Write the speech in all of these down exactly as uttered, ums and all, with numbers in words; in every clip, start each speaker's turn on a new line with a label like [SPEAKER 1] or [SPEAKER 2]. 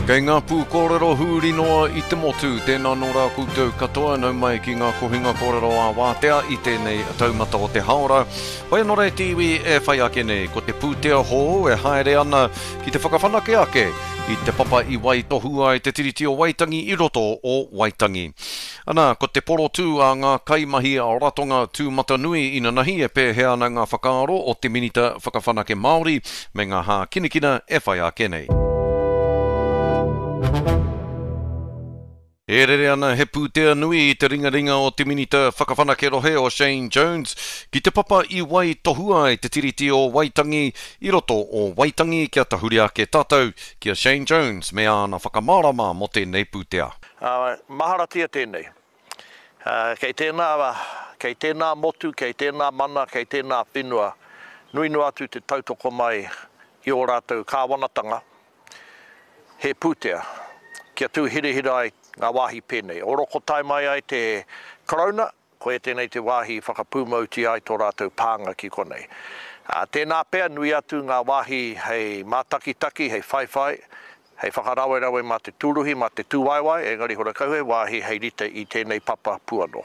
[SPEAKER 1] Kei ngā pūkōrero huri noa i te motu, tēnā nō rā koutou katoa nau mai ki ngā kohinga kōrero ā-wātea i tēnei taumata o te haora. Whai anō rā te iwi e whai ake nei, ko te pūtea hou e haere ana ki te whakawhanake ake i te papa i waitohu ai te Tiriti o Waitangi i roto o Waitangi. Ana, ko te porotū a ngā kaimahi ratonga tūmatanui inanahi e pēhea ana ngā whakaaro o te Minita Whakawhanake Māori me ngā hākinakina e whai ake nei. E rere ana he pūtea nui i te ringaringa o te Minita Whakawhanake Rohe o Shane Jones ki te papa i waitohua ai te Tiriti o Waitangi i roto o Waitangi kia tahuri ake tātou ki a Shane Jones me āna whakamārama mō tēnei pūtea.
[SPEAKER 2] Uh, maharatia tēnei. Uh, kei tēnā, kei tēnā motu, kei tēnā mana, kei tēnā whenua, nui noa atu te tautoko mai i ō rātou kāwanatanga, he pūtea, kia tū hirahira ai ngā wāhi pēnei. O roko tae mai ai te Karauna, koia tēnei te wāhi whakapūmautia ai tō rātou pānga ki konei. Uh, tēnā pea nui atu ngā wāhi hei mātakitaki, hei whaiwhai, hei whakarawerawe mā te tūruhi, mā te tūwaewae, engari horakau he wāhi hei rite i tēnei papa puano.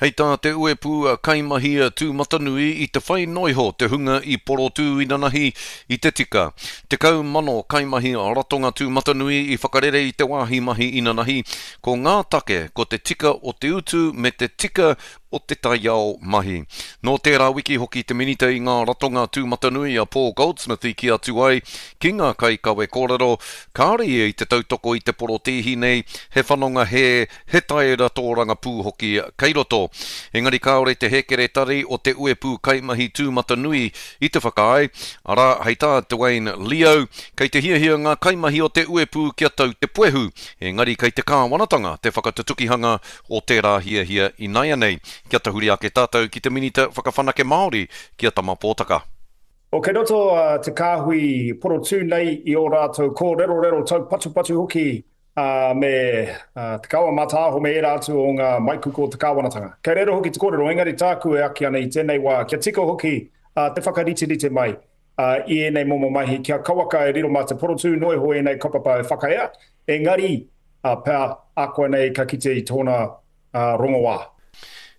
[SPEAKER 1] Hei tā te uepū kaimahi tūmatanui i te whai noiho te hunga i porotū inanahi i te tika. Tekau mano kaimahi ratonga tūmatanui i whakarere i te wāhi mahi inanahi. Ko ngā take, ko te tika o te utu me te tika o te taiao mahi. Nō tērā wiki hoki te minita i ngā ratonga tūmatanui a Paul Goldsmith i kī atu ai ki ngā kaikawe kōrero, kāore ia i te tautoko i te porotēhi nei, he whanonga hē, he taera tōrangapū hoki kei roto. Engari kāore te hēkeretari o te uepū kaimahi tūmatanui i te whakaae, arā, hei tā Dwayne Leo, kei te hiahia ngā kaimahi o te uepū kia tau te puehu, engari kei te kāwanatanga te whakatutukihanga o tērā hiahia inaianei. Kia tahuri ake tātou ki te Minita Whakawhanake Māori, ki a Tama Pōtaka.
[SPEAKER 3] O kei roto uh, te kāhui porotū nei i ō rātou kōrerorero taupatupatu hoki uh, me uh, te kawa mātāho me ērā atu o ngā maikuku o te kāwanatanga. Kei reira hoki te kōrero, engari tāku e aki ana i tēnei wā, kia tika hoki uh, te whakariterite mai uh, i ēnei momo mahi, kia kawaka e riro mā te porotū noiho ēnei kaupapa e whakaea, engari uh, pea ākuanei ka kite i tōna uh, rongoā.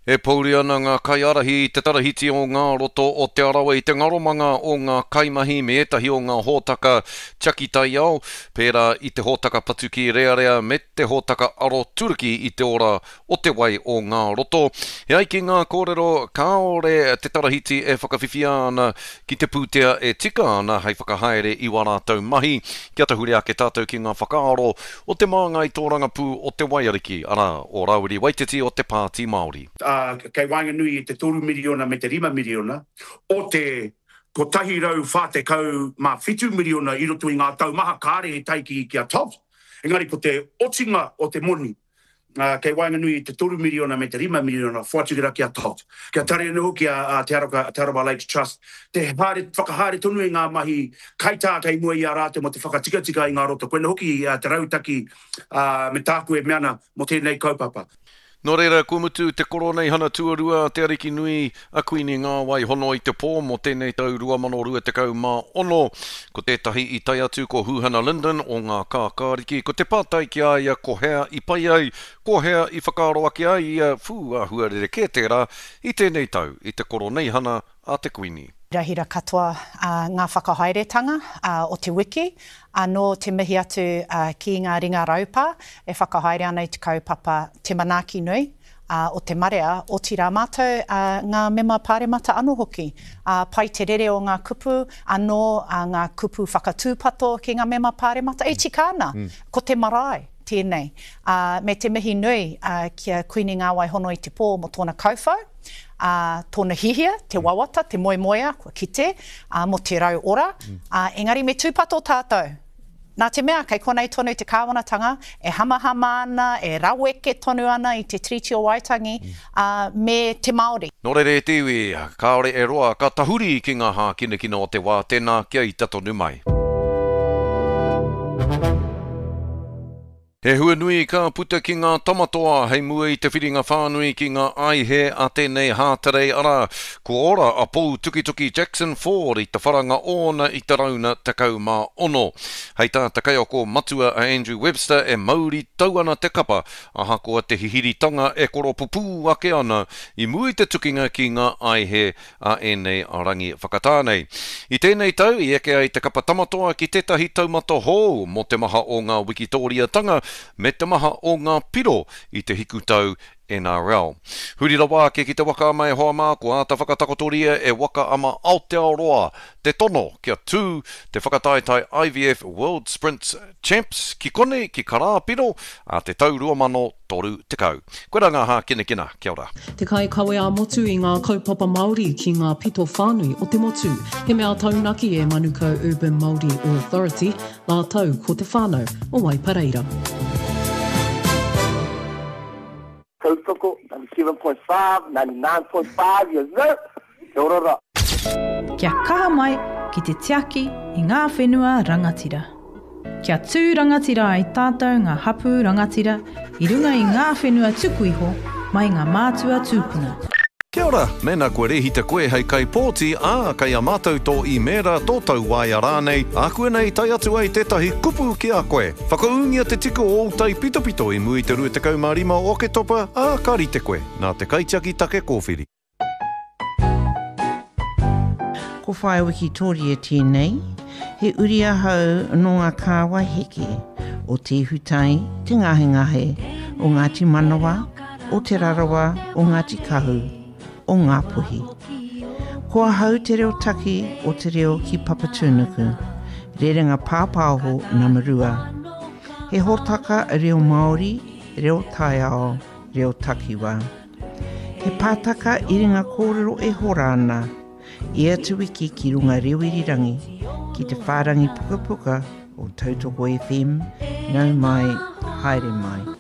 [SPEAKER 1] E pouri ana ngā kaiārahi i te tarahiti o ngā roto o Te Arawa i te ngaromanga o ngā kaimahi me ētahi o ngā hōtaka tiaki taiao, pērā i te hōtaka patuki rearea me te hōtaka aroturuki i te ora o te wai o ngā roto. He ai ki ngā kōrero, kāore te tarahiti e whakawhiwhia ana ki te pūtea e tika ana hei whakahaere i wā rātou mahi. Kia tahuri ake tātou ki ngā whakaaro o te māngai tōrangapū o te Waiariki, arā, o Rāwiri Waititi o te Pāti Māori.
[SPEAKER 4] Uh, kei waenganui i te toru miriona me te rima miriona, o te kotahi rau whā tekau mā whitu miriona i roto i ngā tau maha kāre e tae ki, ki a Todd. Engari ko te otinga o te moni, uh, kei waenganui i te toru miriona me te rima miriona, whoatu ki a Todd. Kia tare anō hoki a, a Te Arawa, Te Arawa Lakes Trust, te haere, whakahaere tonu i ngā mahi kaitā kei mua i a rātou mo te whakatikatika i ngā roto. Koina hoki uh, te rautaki uh, me tāku e mea ana mo tēnei kaupapa.
[SPEAKER 1] Nō reira, kua mutu te koroneihana tuarua a Te Ariki Nui a Kuini Ngāwai Hono i te pō mō tēnei tau rua mano rua tekau mā ono. Ko tētahi i tae atu ko Huhana Lyndon o ngā kākāriki, ko te pātai ki a ia ko hea i pai ai, ko hea i whakaaro ake ai ia whū āhua rerekē tērā i tēnei tau i te koroneihana a te Kuini.
[SPEAKER 5] Rahira katoa uh, ngā whakahaeretanga uh, o te wiki, anō te mihi atu uh, ki ngā ringa raupā e whakahaere ana i te kaupapa te manaaki nui uh, o te marea, otirā mātou uh, ngā mema pāremata anō hoki. Uh, pai te rere o ngā kupu, anō uh, ngā kupu whakatūpato ki ngā mema pāremata, e tika ana, mm. ko te marae tēnei. Uh, me te mihi nui uh, ki a Kuini Ngāwai Hono i te pō mō tōna kauwhau, Uh, tōna hihia, te wawata, te moemoea, kua kite, uh, mō te rau ora. Mm. Uh, engari me tūpato tātou. Nā te mea, kei konei tonu te kāwanatanga, e hamahama ana, e raweke tonu ana i te Tiriti o Waitangi, mm. uh, me te Māori.
[SPEAKER 1] Nō reira e te iwi, kāore e roa ka tahuri ki ngā hākinakina o te wā, tēnā kia ita tonu mai. He hua nui ka puta ki ngā tamatoa hei mua i te whiringa whānui ki ngā aihe a tēnei Hātarei arā, kua ora a Pou Tukituki Jackson Ford i te wharanga ōna i te rauna tekau mā ono. Hei tā te kaiako matua a Andrew Webster e mauri tau ana te kapa ahakoa te hihiritanga e koropupū ake ana i mua i te tukinga ki ngā aihe a ēnei rangi whakatā nei. I tēnei tau i eke ai te kapa tamatoa ki tētahi taumata hou mō te maha o ngā wikitōriatanga me te maha o ngā piro i te hikutau N R L. Huri rawa ake ki te waka ama e hoa mā, kua āta whakatakotoria e Waka Ama Aotearoa te tono kia tū te whakataetae I V F World Sprints Champs ki konei ki Karāpiro a te tau rua mano toru tekau. Koe rā ngā hākinakina, kia ora.
[SPEAKER 6] Te kaikawe ā-motu i ngā kaupapa Māori ki ngā pito whānui o te motu. He mea taunaki e Manukau Urban Māori Authority, rātou ko te whānau o Waipareira.
[SPEAKER 7] Tautoko, ninety-seven point five, ninety-nine point five, yes sir. Kia ora rā.
[SPEAKER 8] Kia kaha mai ki te tiaki i ngā whenua rangatira. Kia tū rangatira ai tātou ngā hapū rangatira i runga i ngā whenua tuku iho mai ngā mātua tūpuna.
[SPEAKER 1] Kia ora, mēnā kua rehita koe hei kaipōti, ā, kei a mātou tō īmēra, tō tauwaea rānei, ākuanei tae atu ai tētahi kupu ki a koe. Whakaūngia te tika o ō taipitopito i mua i te rua tekau mā rima o Oketopa, ā, ka rite koe, nā te kaitiaki take kōwhiri.
[SPEAKER 9] Ko Whaea Wikitoria tēnei, he uri ahau nō ngā kāwai heke o Te Ihutai, Te Ngahengahe, o Ngāti Manawa, o Te Rarawa, o Ngāti Kahu, o Ngāpuhi. Ko ahau te reo taki o te reo ki Papatūnuku, rerenga pāpāho nama rua. He hōtaka reo Māori, reo taiao, reo takiwā. He pātaka iringa kōrero e hora ana, ia te wiki ki runga reo irirangi, ki te whārangi pukapuka o Tautoko F M, nau mai, haere mai.